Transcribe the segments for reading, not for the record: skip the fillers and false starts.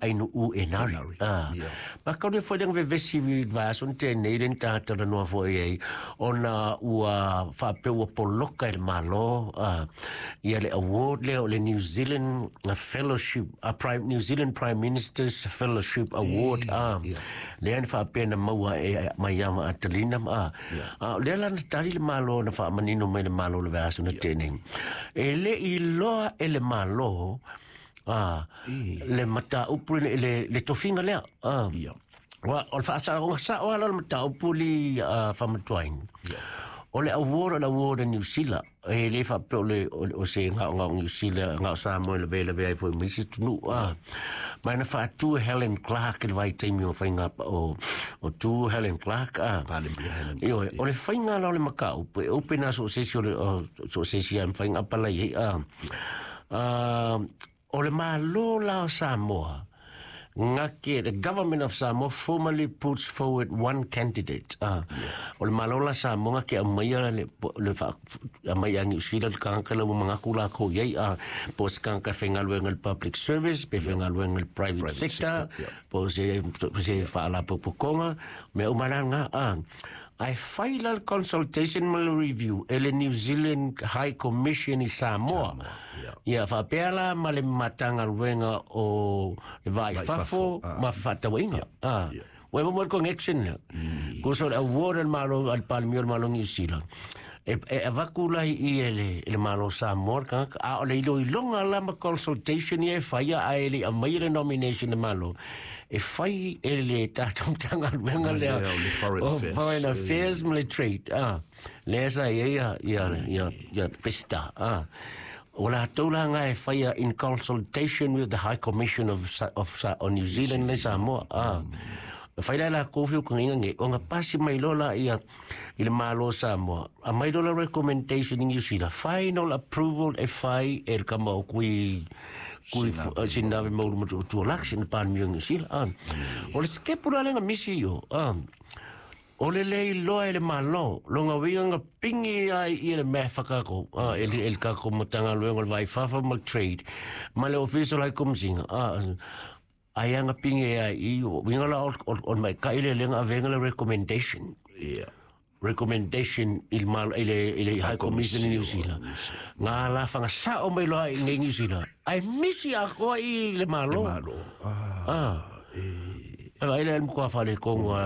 Ainuu Enari. Ah. Ma kau le foi lenga vevesi i vaiaso na tea nei lea na tatalanoa foi ai ona ua faapea ua poloka e le Malo ah, ia le award lea o le New Zealand Fellowship, Prime, New Zealand Prime Minister's Fellowship Award ah, lea na faapea na maua e mai ia ma Atalina ah. Ah, o lea la na tali le Malo na faamanino mai le Malo le vaiaso na tea nei. E le i loa e le Malo Ah, le mataupu le, le, le tofiga lea. Ah. Ia. Ua, o le faasaoga sao lava la o le mataupu li uh, faamatuaina. Ia. O le award o le award a Niu Sila, e le faapea o le, o, o se gaogao Niu Sila, gao Samoa e lavelavea ai foi ma isi atunuu. Ah. Ma na faatu e Helen Clark i le vaitaimi o faiga o, o tu Helen Clark. Ah. Palemia Helen. Ioe, o le faiga la o le mataupu, e open lava so o se isi o le, o, so o se isi lava e mafai ona apalai ai. Ah. O le Malo la o Samoa, ngake, the government of Samoa formally puts forward one candidate. O le Malo la Samoa ngake aumaia le, le fa, aumai a Niu Sila le tagata lea ua manatu lakou i ai, po o se tagata e faigaluega i le public service, pe faigaluega i le private, Private sector, sector, yeah. po o se, se faalapotopotoga, mea uma la na. Ae fai la le consultation ma le review e le New Zealand High Commission i Samoa. Ia faapea la ma le Matagaluega o le Va i Fafo ma Fefaatauaiga. Ua maua le connection lea. Kosa o le award a le Malo, a le Palemia o le Malo o Niu Sila, e, e avatu la i i e le, e le Malo o Samoa le tagata, a o le iloiloga la ma consultation ia e faia ae le i aumaia le nomination e le Malo, e fai e le tatou Matagaluega lea lea o le Foreign o Affairs. Foreign Affairs ma le Trade, ah, lea sa i ai ia, ia, ia, ia Pesita, ah. O latou la nga e faia in consultation with the High Commission of, Sa- of, Sa- of New Zealand le Samoa, ah. E fai la e lakou feutagaiga nei, ona pasi mai loa la ia i le Malo o Samoa, aumai loa la recommendation i Niu Sila, final approval e fai e le kama o Kui, Kui Sinave Maulu Motootua Lak, sina Palemia o Niu Sila. Ah. O le sikepu la lea na misi i o, ah, o le le iloa e le Malo, lona uiga na pingi ai ia le mea e whakako, ah, e le, e le kako Matagaluega o le Va i Fafo ma le Trade, ma le Ofisa o le High Commissioner, ah, Ai anga pinge ai i winga la o o mai kai le lenga avenga le recommendation. Yeah. Recommendation il mal ile ile High Commission in New Zealand. Nga la whanga sa o mai loa i New Zealand. Ai misi a koa i le malo. Le malo. Ah. Ah. E... Ai le mkoa whare kongo.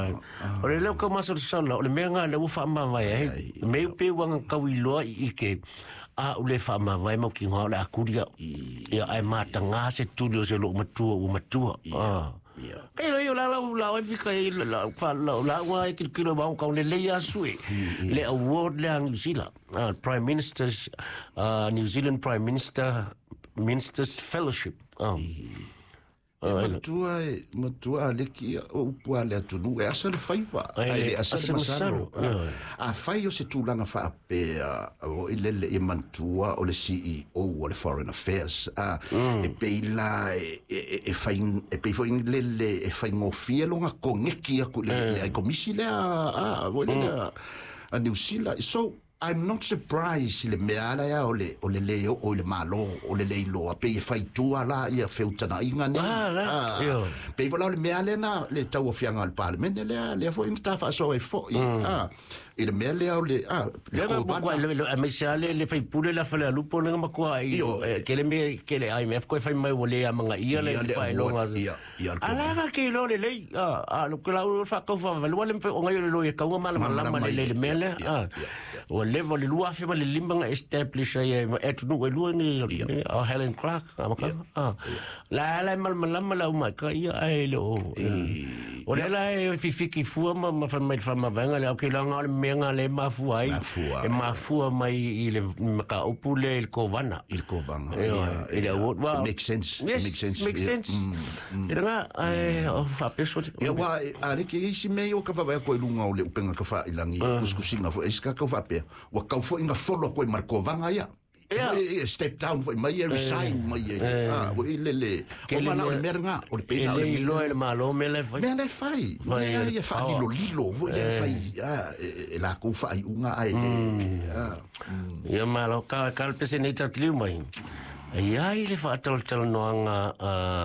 O le leo ka maso sala, o le mea ngā le ua whaamavae ai. Me upe wanga kau i loa i ike. A ule faamavae mau ki ngā o le akuria. Ia ai mātangā se tuli o se loo matua ua matua. Ia. Ia. Kai loi o la lau la oi fika i la fa la la ua e kilokilo mau kau le lei asu e. Le award le a New Zealand. Prime Minister's New Zealand Prime Minister Minister's Fellowship. E matua, e matua a leki o upu a le atunuu, e asa le faiva, Ai ai le le asa le asa masalo. masalo. A fai o se tulaga faapea, o i lele e mantua o le CEO o le Foreign Affairs, a, e pei la e, e, e, fai, e pei foi lele e faigofie loga kogeki aku i le, le ai komisi lea, a, o le lea, a Niu Sila. So, I'm not surprised i le mea ala ea o le, o le lē oo i le Malo, o le lē iloa, pei e fai tua la ia feutanaiga nei. Ah, la, Ah, ioe. pei foi la o le mea lena, le tauafiaga a le Palemene lea, lea foi na ta faasoa ai foi, ah, i le mea lea o le, ah, le Lea na kovana. matua, le, le, aemaise lava le, le faipule la Falealupo lea na matua ai, Ioe. eh, ke le mea, ke le IMF koe fai mai ua le amagaia le Ia le faailoga. award, ia, ia le A la kovana. ka ke iloa lelei, ah, ah, lo ke lau whakau whawalua le mwhai o ngai o le loi e kaunga malamalama Malamalama le le i- le mea lea, ia, ah. ia, ia. Ua leva o le 2005 na establish ai e atunuu e lua ni Ia. o Helen Clark, a maka, ah. La la e malamalama la umai ka ia ai le o. O le la e whiwhiki fua ma ma whai mai le whamavaenga le, okay, la ngā o le mea ngā le mafua ai. Mafua. E mafua mai i le makaupu le i le kovana. I le kovana, Ioe, ia, i le ia. award. Well, It makes sense. It Yes, makes sense. Makes Ia, sense. E ranga, ai, o whapeso. Ia ua a le ke isi mea ia o ka vaavaai atu ai i luga o le upega tafailagi kusikusiga foi e isi ka faapea ua kau foi ina folo atu ai ma le kovaga ia. Ia. Foi e step down foi mai e resign mai e ah ua i le le Ke o le mala o le mea- mea lena o le E pena o le le mea iloa e le Malo mea la e fai. mea la e fai Fai mea e le ia power. faalilolilo foi ia e fai ah e lakou faaiuga ae le ah Ia malo, ka, ka le pese nei tatliu mai. E ai le faatalatalanoaga